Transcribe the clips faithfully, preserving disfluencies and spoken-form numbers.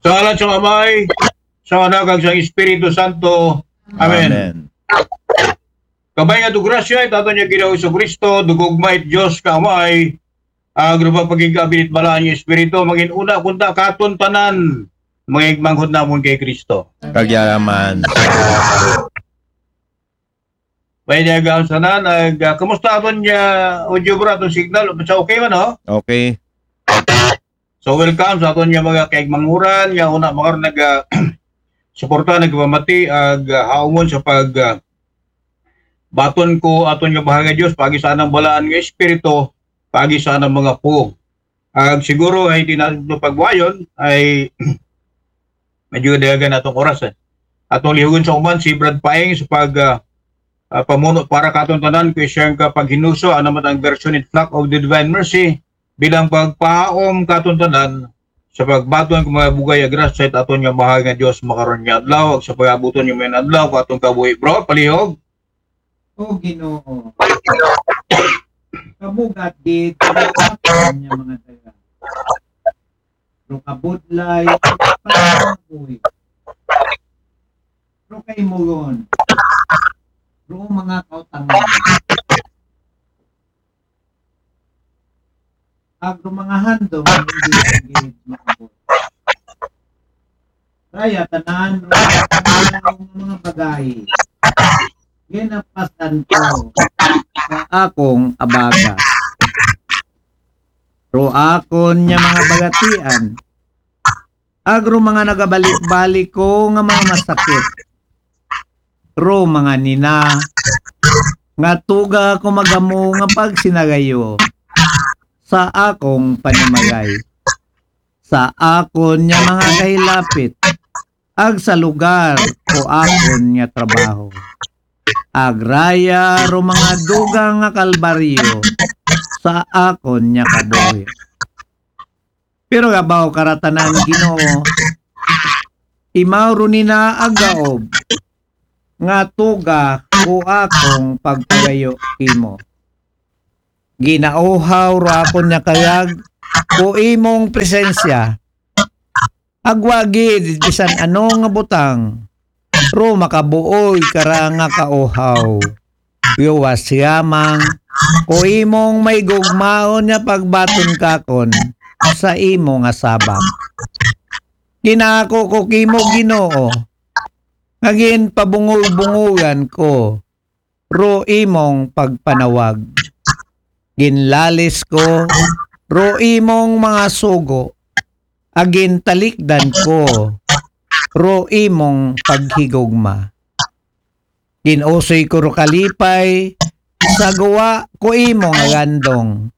Sa ngalan sa Amay, sa Anak, ug sa Espiritu Santo. Amen. Amen. Kabay nga grasya it aton nga Ginoo Jesucristo, ug gugma it Dios ka Amay, ug pagpakigkaabin it Balaan nga Espiritu, mangin-una kunta katon tanan, mga igmanghod namon kay Kristo. Kag iya man. May niya gaham sa nan, ag, ah, kumusta aton nga audio, bro, aton signal? Sa okay man, no? Okay. So, welcome sa aton nga mga kaigmanghuran, nga una, mga nag, ah, suporta, nagpamati, ag, ah, haumon sa pag, ah, baton ko aton nga Bahay nga Dios, paagi sa anang Balaan nga Espiritu, paagi sa anang mga pulong. Ag siguro ay di na ito pagbuhayon, ay medyo dayagan atong oras, eh. Atong lihugon sa uman si Brad Paeng sa pag, ah, ah, pamuno para katon tanan, kay siyang kapaghinuso, ano man ang version in Flock of the Divine Mercy, bilang pagpahaom katon tanan sa pagbaton ko mga bugay ag grasya it aton nga Bahay nga Dios makaron nga adlaw, ag sa pag-abuton nga mga adlaw ko atong kabuhi, bro, palihog. O Ginoo, kabugat gid ang aton nga mga daga. Ro kabudlay, pagkabuhi. Ro kaimugon. Ro mga kautangan. Ag ro mga handom nga hindi gid maabot. Raya tanan ro mga bagay. Ginapasan ko sa akong abaga. Ro akon nga mga bagatian. Ag ro mga nagabalik-balik ko nga mga masakit. Ro mga nina, nga tuga ko magamo nga pagsinagayo sa akong panimagay, sa akon nga mga kahilapit, ag sa lugar ko akon nga trabaho. Ag raya ro mga dugang nga kalbaryo sa akon nga kabuhi. Pero kabaw karatanan, Ginoo, imaw ro nina ag gaob, nga tuga ko akong pagpagayo kimo. Ginauhaw ro akon nga kayag ko imong presensya. Ag wa gid bisan ano nga butang, ro makabuoy kara nga kauhaw. Yuwas yamang ko imong maigugmaon nga pagbaton kakon sa imo nga sabak. Ginako ko kimo, Ginoo, nga ginpabungol-bungolan ko ro imong pagpanawag. Ginlalis ko ro imong mga sugo, ag gintalikdan ko ro imong paghigugma. Ginusoy ko ro kalipay, sa guwa ko imo nga gandong,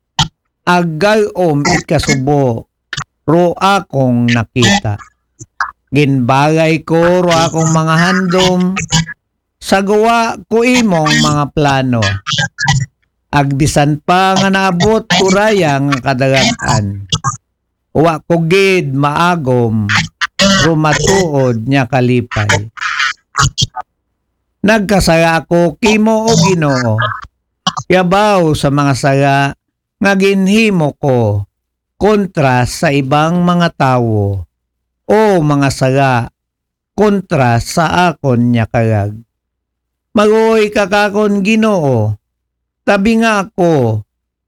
ag gay-om it kasubo ro akong nakita. Ginbagay ko ro akong mga handom, sa guwa ko imong mga plano. Ag bisan pa nga naabot ko raya nga kadagag-an, wa ko gid maagom ro matuod nga kalipay. Nagkasala ako kimo, O Ginoo, yabaw sa mga sala nga ginhimo ko kontra sa ibang mga tawo, o mga sala kontra sa akon nga kayag. Maluoy ka kakon, Ginoo, tabinga ako,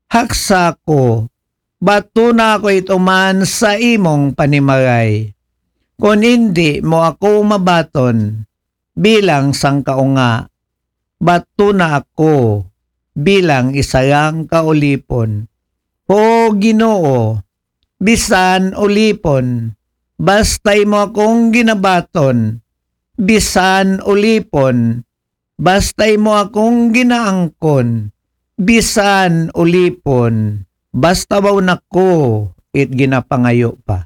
haksa ako, batona ako it uman sa imong panimalay. Kon indi mo ako mabaton bilang sangkaunga, batona ako bilang isa lang ka ulipon. O Ginoo, bisan ulipon, basta imo akong ginabaton, bisan ulipon, basta imo akong ginaangkon, bisan ulipon, basta baw nako it ginapangayo pa.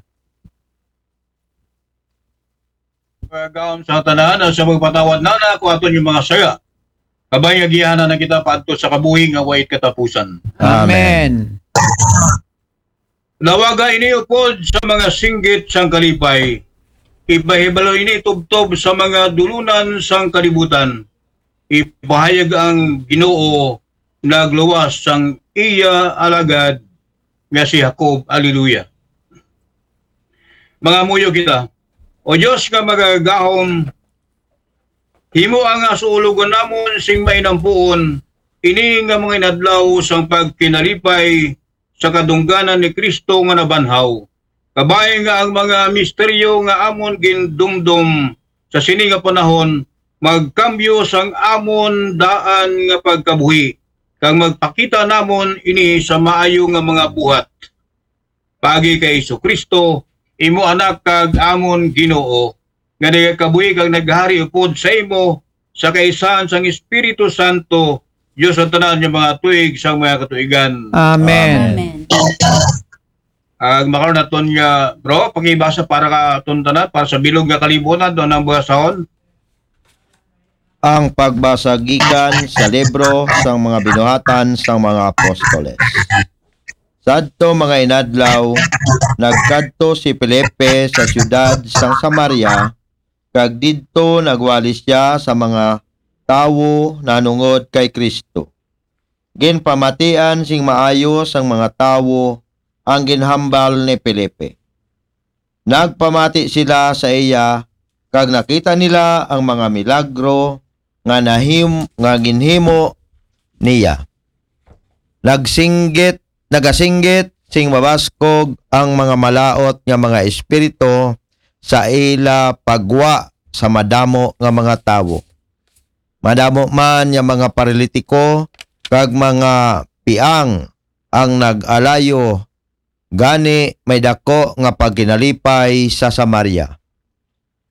Pagkaon sa tanan, sa magpatawad na na ako aton yung mga saya. Kabay nga giyahan na kita paadto sa kabuhi nga way katapusan. Amen. Lawaga ini upod sa mga singgit sang kalipay. Ipahibalo ini tubtob sa mga dulunan sang kalibutan. Ipahayag ang Ginoo nagluwas sang iya alagad nga si Jacob. Alleluia. Mga muyo kita. O Dios nga magagahom, himo ang asulogon namon sing mainampuon, ini nga mga inadlaw sang pagkinalipay sa kadungganan ni Kristo nga nabanhaw. Kabay nga ang mga misteryo nga amon gindumdom sa sini nga panahon magkambyo sang amon daan nga pagkabuhi, kag magpakita namon ini sa maayo nga mga buhat. Paagi kay Jesu-Kristo, imo Anak kag amon Ginoo, nga nagakabuhi kag naghari upod sa imo, sa kaisahan sang Espiritu Santo, Dios sa tanan nga mga tuig sang mga katuigan. Amen. Amen. Ag makaron naton nga, bro, pakibasa para ka aton tanan, para sa bilog nga kalibutan, do nang basahon. Ang pagbasa gikan sa libro sang mga binuhatan sang mga apostoles. Sadto mga inadlaw, nagkadto si Felipe sa siyudad sang Samaria, kag didto nagwali siya sa mga tawo nanungod kay Kristo. Ginpamatian sing maayo sang mga tawo ang ginhambal ni Felipe. Nagpamati sila sa iya, kag nakita nila ang mga milagro nga nahim nga ginhimo niya. Nagsinggit, nagasinggit sing mabaskog ang mga malaot nga mga espiritu sa ila pagwa sa madamo nga mga tawo. Madamo man nga mga paralitiko kag mga piang ang nag-alayo, gani may dako nga pagkinalipay sa Samaria.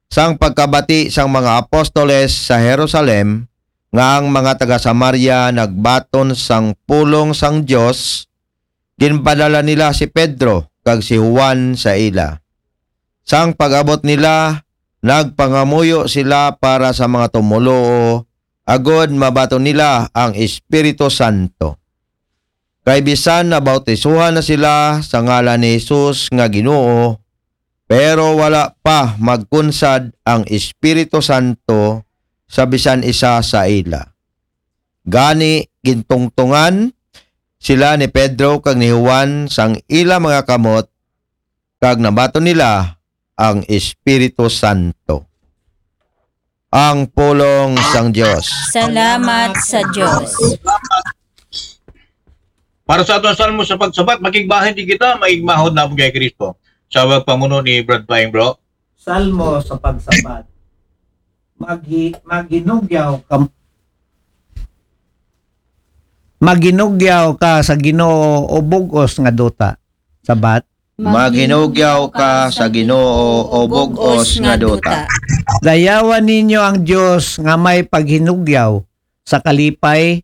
Sang pagkabati sang mga apostoles sa Jerusalem nga ang mga taga Samaria nagbaton sang pulong sang Dios, ginpadala nila si Pedro kag si Juan sa ila. Sang pag-abot nila, nagpangamuyo sila para sa mga tumoluo, agod mabaton nila ang Espiritu Santo. Kay bisan nabautisohan na sila sa ngalan ni Jesus nga Ginoo, pero wala pa magkunsad ang Espiritu Santo sa bisan isa sa ila. Gani, gintungtungan sila ni Pedro kag ni Juan sang ila mga kamot, kag nabaton nila ang Espiritu Santo. Ang pulong sang Dios. Salamat sa Dios. Para sa aton salmo sa pagsabat, makigbahin di kita, maigmahod na kay Kristo. Sa pamuno ni Brad Paing, bro. Salmo sa pagsabat. Maghi, maghinugyaw ka Maghinugyaw ka sa Ginoo o bug-os nga duta. Sabat. Maghinugyaw ka sa Ginoo o bug-os nga duta. Dayawan ninyo ang Dios nga may paghinugyaw. Sa kalipay,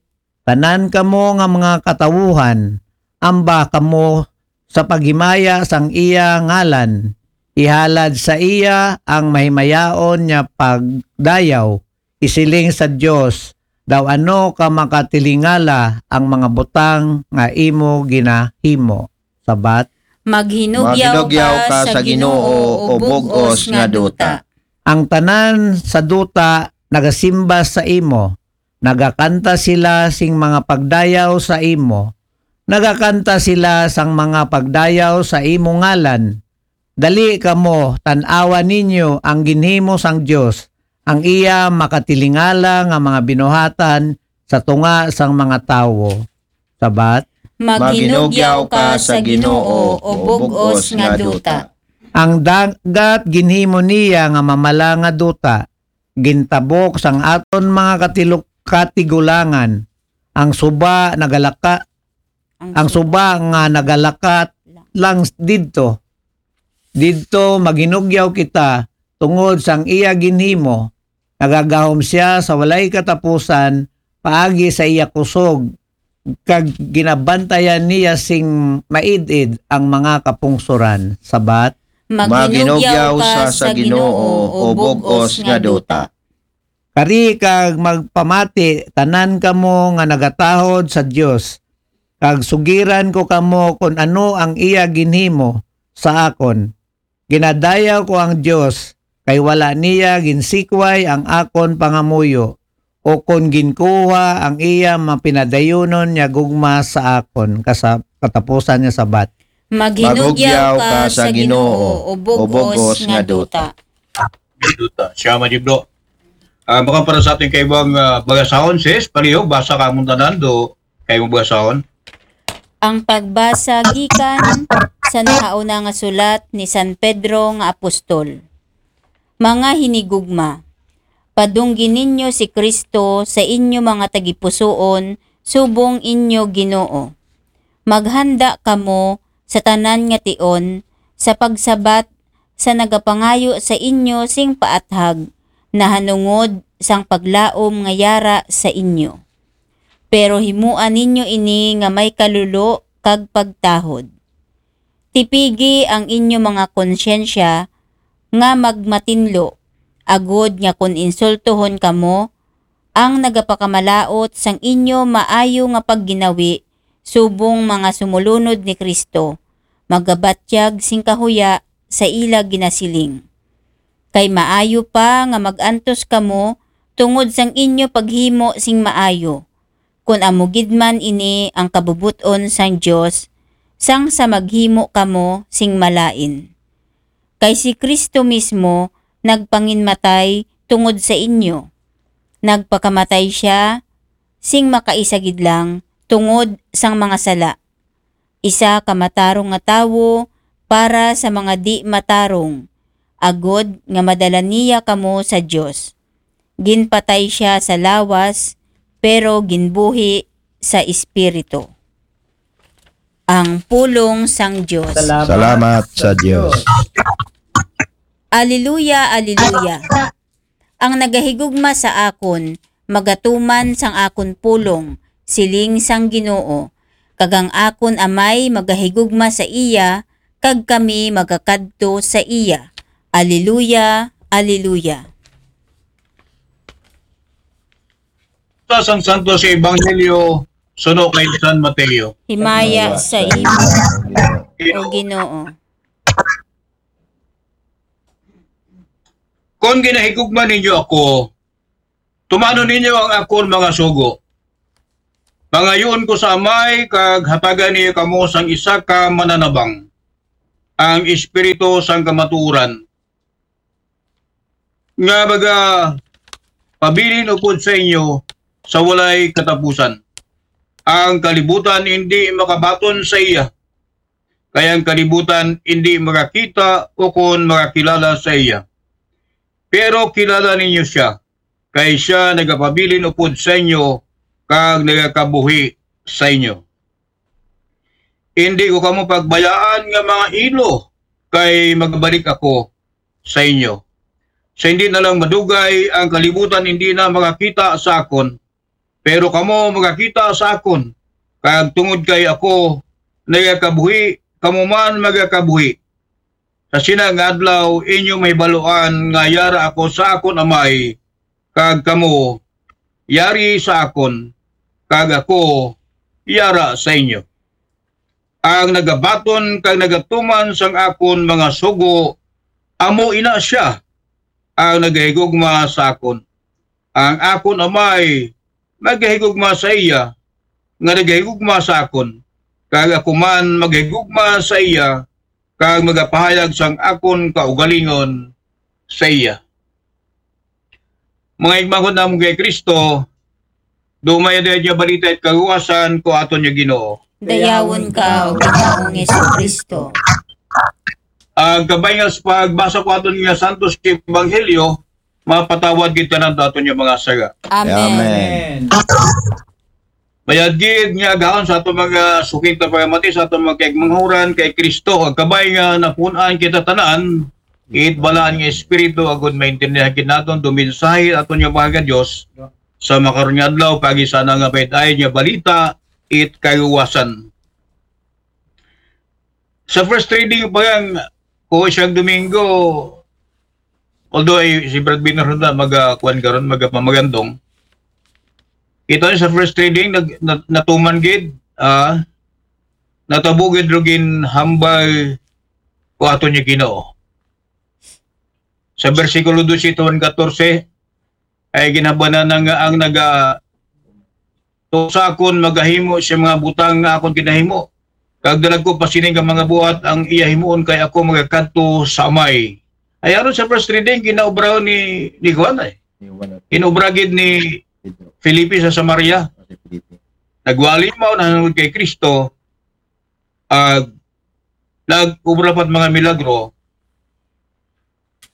tanan kamo nga mga katawuhan, amba kamo sa paghimaya sang iya ngalan. Ihalad sa iya ang mahimayaon nga pagdayaw. Isiling sa Dios, daw ano ka makatilingala ang mga butang nga imo ginahimo. Sabat. Maghinugyaw ka sa Ginoo o bug-os nga duta. Ang tanan sa duta nagasimba sa imo. Nagakanta sila sing mga pagdayaw sa imo. Nagakanta sila sang mga pagdayaw sa imo ngalan. Dali kamo, tan-awa ninyo ang ginhimo sang Dios, ang iya makatilingala nga mga binuhatan sa tunga sang mga tawo. Sabat. Maghinugyaw ka sa Ginoo o bug-os nga duta. Ang dagat ginhimo niya nga mamala nga duta, gintabok sang aton mga katilok katigulangan. Ang suba nagalaka ang suba nga nagalakat lang didto. Didto maghinugyaw kita tungod sang iya ginhimo. Nagagahom siya sa walay katapusan paagi sa iya kusog, kag ginabantayan niya sing maid-id ang mga kapungsoran. Sabat. Maghinugyaw ka sa Ginoo o bug-os nga duta. Kari kag magpamati tanan kamo nga nagatahod sa Dios, kag sugiran ko kamo kun ano ang iya ginhimo sa akon. Ginadayaw ko ang Dios, kay wala niya ginsikway ang akon pangamuyo, o kun ginkuha ang iya mapinadayunon nga gugma sa akon. Kasa-, katapusan nga sabat. Maghinugyaw ka sa Ginoo o bug-os nga duta. Duta. Siya, Majibro. Ah, baka para sa ating kaibang ah, bagasahon, sis, paliho, basa ka mong tanan, do kaibang bagasahon. Ang pagbasa gikan sa nahauna nga sulat ni San Pedro nga apostol. Mga hinigugma, padunggi ninyo si Kristo sa inyo mga tagipusoon subong inyo Ginoo. Maghanda kamo sa tanan nga tion sa pagsabat sa nagapangayo sa inyo sing paathag nahanungod sang paglaom nga yara sa inyo. Pero himua ninyo ini nga may kalulo kag pagtahod. Tipigi ang inyo mga konsyensya nga magmatinlo, agod nga kon insultohon kamo, ang nagapakamalaot sang inyo maayo nga pagginawi subong mga sumulunod ni Kristo, magabatyag sing kahuya sa ila ginasiling. Kay maayo pa nga mag-antos kamo tungod sang inyo paghimo sing maayo, kun amo gid man ini ang kabubut-on sang Dios, sang sa maghimo kamo sing malain. Kay si Kristo mismo nagpanginmatay tungod sa inyo. Nagpakamatay siya sing makaisa gid lang tungod sang mga sala. Isa ka matarong nga tawo para sa mga di matarong, agod nga madala niya kamo sa Dios. Ginpatay siya sa lawas, pero ginbuhi sa espiritu. Ang pulong sang Dios. Salamat sa Diyos. Aleluya, aleluya. Ang nagahigugma sa akon, magatuman sang akon pulong, siling sang Ginoo. Kag ang akon Amay magahigugma sa iya, kag kami magakadto sa iya. Aleluya, aleluya. Sa sang Santos Ebanghelyo, suno kay San Mateo. Himaya sa imo, O Ginoo. Kon ginahigugma ninyo ako, tumano ninyo ang akon mga sugo. Pangayoon ko sa Amay, kag hatagan niya kamo sang isa ka mananabang, ang Espiritu sang kamatuoran, nga maga pabilin upod sa inyo sa walay katapusan. Ang kalibutan hindi makabaton sa iya, kay ang kalibutan hindi makakita o kon makakilala sa iya. Pero kilala ninyo siya, kay siya nagapabilin upod sa inyo kag nagakabuhi sa inyo. Hindi ko kamo pagbayaan nga mga ilo, kay magbalik ako sa inyo. Sa hindi na lang madugay, ang kalibutan hindi na makakita sa akon, pero kamo makakita sa akon, kag tungod kay ako nagakabuhi, kamo man magakabuhi. Sa sina nga adlaw inyo mahibaluan nga yara ako sa akon Amay, kag kamo yari sa akon, kag ako yara sa inyo. Ang nagabaton kag nagatuman sang akon mga sugo, amo ina siya ang nagahigugma sa akon. Ang akon Amay magahigugma sa iya nga nagahigugma sa akon, kag ako man magahigugma sa iya, kag magapahayag sang akon kaugalingon sa iya. Mga igmahon namon kay Kristo, dumaya dayad nga balita it kaluwasan ko aton nga Ginoo. Dayawon ka, O Ginoong Jesucristo. Ang kabay nga sa pagbasa ko aton nga Santos Ebanghelyo, mapatawad gid tanan aton nga mga sala. Amen. Amen. Mayad gid nga agahon sa aton mga suking pamati, sa aton mga kaigmanghuran kay Kristo, ang kabay nga napun-an kita tanan, it balaan nga Espiritu, agud maintindihan gid naton duminsahi aton nga mga Dios sa makaron nga adlaw, pagi sana nga pait-ay nga balita, it kaluwasan. Sa first reading pa lang, ko siyang Domingo, although ay si Brad Biner na maga kuan karon, maga pamagandong. Kita niyo sa first reading, nag, nat, natuman gid, ah, natabo gid ro gin hambal ko aton nga Ginoo. Sa bersikulo dose tuman katorse, ay ginhabanan na nga ang naga to sa akon magahimo siya mga butang nga akon ginahimo. Kag dalag ko pa sini nga mga buhat ang iya himuon kay ako magakadto sa Amay. Ay aron sa first reading, ginaobrahan ni, ni Juan ay. Inobra gid ni Felipe sa Samaria. Nagwali mao na nanungod kay Kristo, ag nag-obra pat mga milagro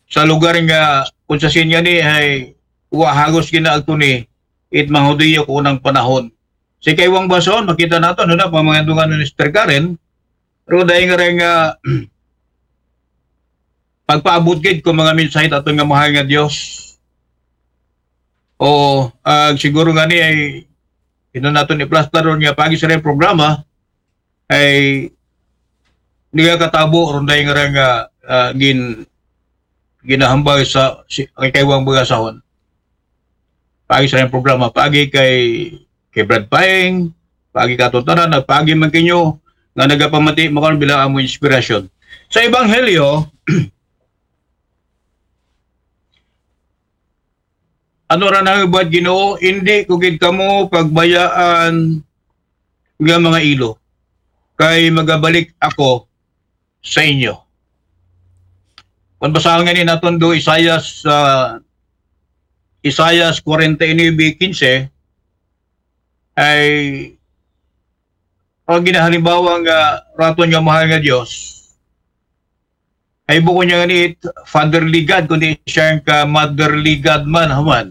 sa lugar nga kung sa sinya ni ay wa hagos ginaagto ni it mga Hudiyo ko unang panahon. Si kaywang bason, makita nato, no, na pamangandungan ni Sister Karen, pero dahil nga rin nga pagpaabot gid ko mga mensahe aton nga mahal nga Dios. O, ah, siguro nga ni ay ino naton iplastar ron nga pagi sa rin programa ay nagakatabo ron dahil nga rin nga ah, gin ginahambal sa si, kay kaywang bagasahon. Pagi sa rin programa, pagi kay kay Brad Paeng, pagi kato tanan, pagi man kinyo nga nagapamati makaron bilang amo inspirasyon. Sa Ebanghelyo, ano ra na buhat Ginoo, hindi ko gid kamo pagbayaan nga mga ilo, kay magabalik ako sa inyo. Kung basahon nga ni naton do Isaias, ah, Isaias forty-nine quince, ay ang ginahalimbawa nga raton nga mahal nga Dios, ay buko niya nga ni fatherly God, kundi siya ang ka motherly God man, human.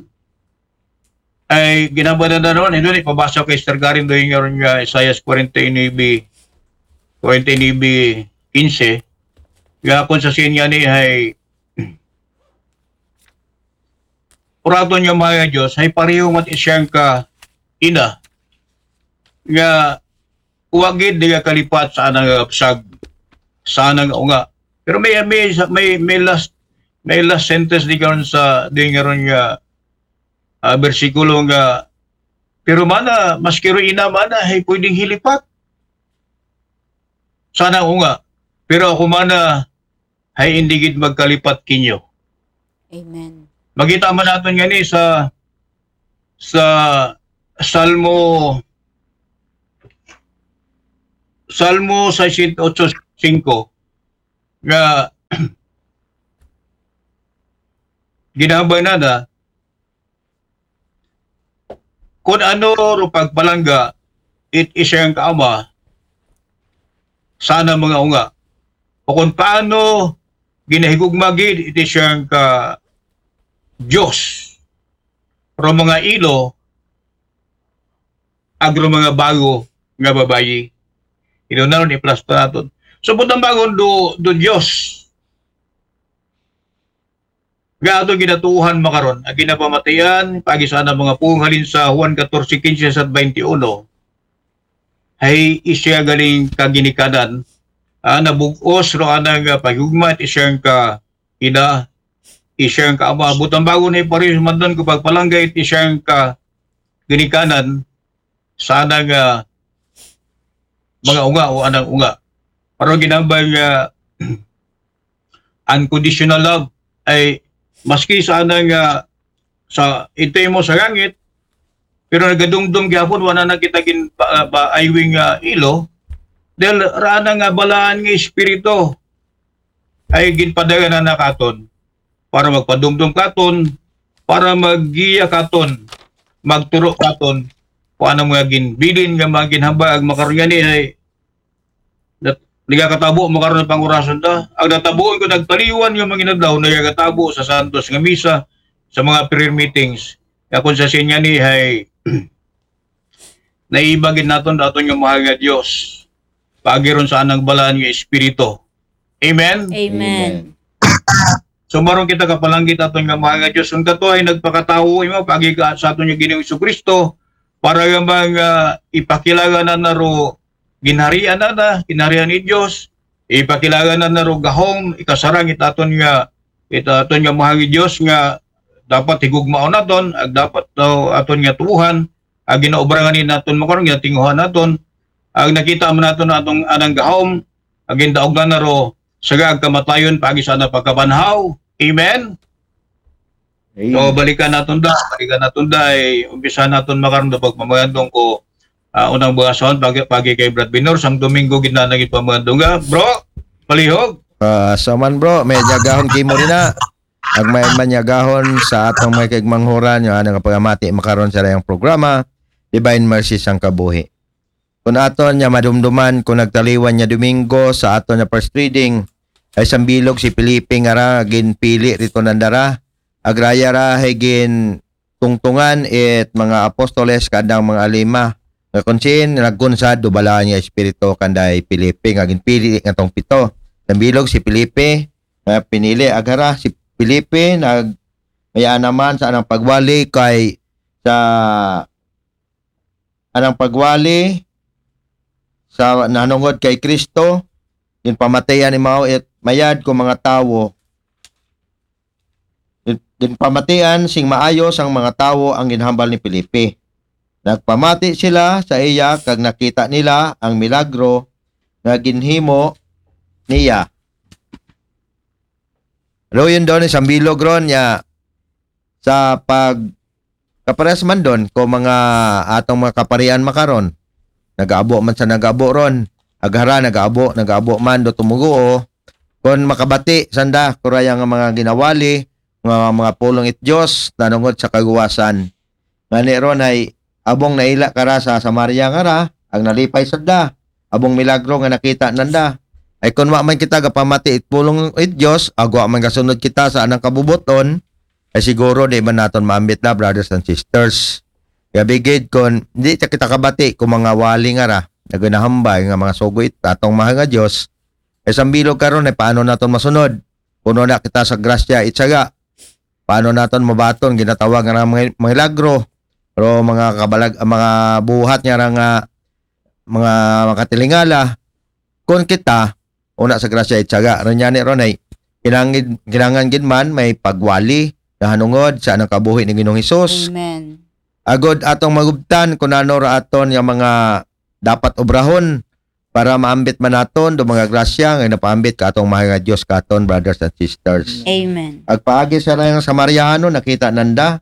Ay ginabada na ron, hindi ni pabasa kay Sister Karen doon nga ron nga Isaias forty-nine, forty-nine quince, nga kung sa siya ni ay uraton nga mahal nga Dios, ay pareho mat isiyang ka ina, nga wa gid di kalipat sa anang kapsag, sa anang unga. Pero may, may, may, may last, may last sentence di karon sa, di nga ron nga, ah, bersikulo nga, pero mana, maski ro ina mana, ay pwedeng hilipat sa anang unga. Pero ako mana, ay hindi gid magkalipat kinyo. Amen. Makita man naton nga ni sa, sa Salmo, Salmo sixty-eight five, nga ginahambal na na, kung ano ro pagpalangga, it isiyang kaama, sana mga unga. O kung paano ginahigugma gid, it isiyang ka Diyos. Ro mga ilo, agro mga bago nga babayi. Ino na ron, i-plus pa naton. So, butang bagon do, do Diyos. Nga ato ginatuuhan makaron, ang ginapamatian, pagi sana mga pung halin sa Juan fourteen quince sa twenty-one. Ay isya galing kaginikanan, ah, nabugos ro anang, ah, paghigugma, it isiyang ka ina, isiyang ka ama. Butang bago na iparis, mandan ko pagpalanggay, it isiyang ka ginikanan, sa anang, ah, mga unga o anang unga. Pero ginambal nga unconditional love ay maski sa anang, ah, sa itoy mo sa langit, pero nagadumdum gyapon, wala na kita gin pa, pa aywing, ah, ilo, dahil raan nga balaan nga espiritu ay ginpadala na nakaton para magpadumdum katon, para maggiya katon, magturo katon, kung anong mga ginbilin nga mga ginhambal, ang makaron nga ni ay nat-, nagakatabo makaron ang pangurason ta. Ang natabuon ko nagpaliwan nga mga inadlaw, nagakatabo sa santos nga misa, sa mga prayer meetings. Kaya kung sa sinya ni ay naibagin naton daton nga mahal nga Dios. Pagiron sa anang balaan nga espiritu. Amen? Amen. So maron kita kapalanggit aton nga mahal nga Dios. Ang kato ay nagpakatawo imo pagi ka sa aton nga Ginoong Kristo para nga mga ipakilala na na ro ginharian na na, ginharian ni Dios, ipakilala na na ro gahom, ikasarang it aton nga, it aton nga mahal nga Dios nga dapat higugmaon naton, ag dapat daw aton nga tuuhan, ag ginaobra nga ni naton makaron nga tinguhan naton, ag nakita man naton atong anang gahom, ag gindaog na na ro, saga ag kamatayon, pagi sana pagkabanhaw. Amen? So, balikan naton da, balikan naton da, ay umpisa naton makaron da pagpamagandong ko, ah, unang bukason, pagi, pagi kay Brad Binor, sang Domingo, gid na naging pamagandong ga. Bro, palihog. Ah, so man, bro, may agahon kimo rin na. Ag may man agahon sa atong mga kaigmanghuran, yung anong kapagamati makaron sa layang programa, Divine Mercy sang Kabuhi. Kung aton niya madumduman, kung nagtaliwan niya Domingo sa aton niya first reading, ay sambilog si Felipe nga ra, ginpili rito nandara, agraya ra, hay gin tungtungan it mga apostoles kadang mga alima, nga kung sin nagkunsad, dubala niya espiritu kanday Felipe, nga ginpili nga tong pito. Sambilog si Felipe, nga pinili, agara si Felipe, nag, maya naman sa anang pagwali kay, sa anang pagwali sa nanungod kay Kristo, ginpamatian ni mao it mayad ko mga tawo. Gin-, ginpamatian sing maayo sang mga tawo ang ginhambal ni Felipe. Nagpamati sila sa iya kag nakita nila ang milagro nga ginhimo niya. Pero yun doon, isang bilog ron niya sa pag kapares man doon ko mga atong mga kaparian makaron. Nagaabo man sa nagaabo ron. Aghara, nagaabo, nagaabo man do tumuguo. Kon makabati sanda, kuraya nga mga ginawali, mga, mga pulong it Diyos, nanungod sa kaguwasan. Ngani ron ay abong naila kara sa Samaria nga ra, ang nalipay sanda, abong milagro nga nakita nanda. Ay kun wa man kita gapamati it pulong it Diyos, agwa man gasunod kita sa anang kabubuton, ay siguro di man naton maambit na, brothers and sisters. Kaya bigid kun di ta kita kabati kung mga wali nga ra, nagunahambay nga mga sugo it atong mahal nga Diyos, ay sambilog karon ay paano naton masunod? Puno na kita sa grasya, itsaga. Paano naton mabaton, ginatawag nga mga milagro, pero mga kabalag, mga buhat nga ra nga mga makatilingala, kun kita, una sa grasya, itsaga. Ron yan, ron ay, kinangid, kinangan gid man, may pagwali, nahanungod sa anang kabuhi ni Ginoong Hesus. Amen. Agod atong magubtan, kung ano ra aton nga mga dapat obrahon, para maambit man naton, do mga grasya, nga napaambit ka atong mahal nga Diyos katon, brothers and sisters. Amen. Agpaagi sa rayang Samariano, nakita nanda,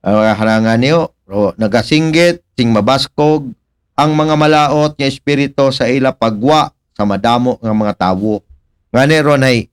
ang mga harangan niyo, ro, nagasinggit, sing mabaskog, ang mga malaot nga espiritu sa ila pagwa sa madamo nga mga tawo. Ngani ron ay,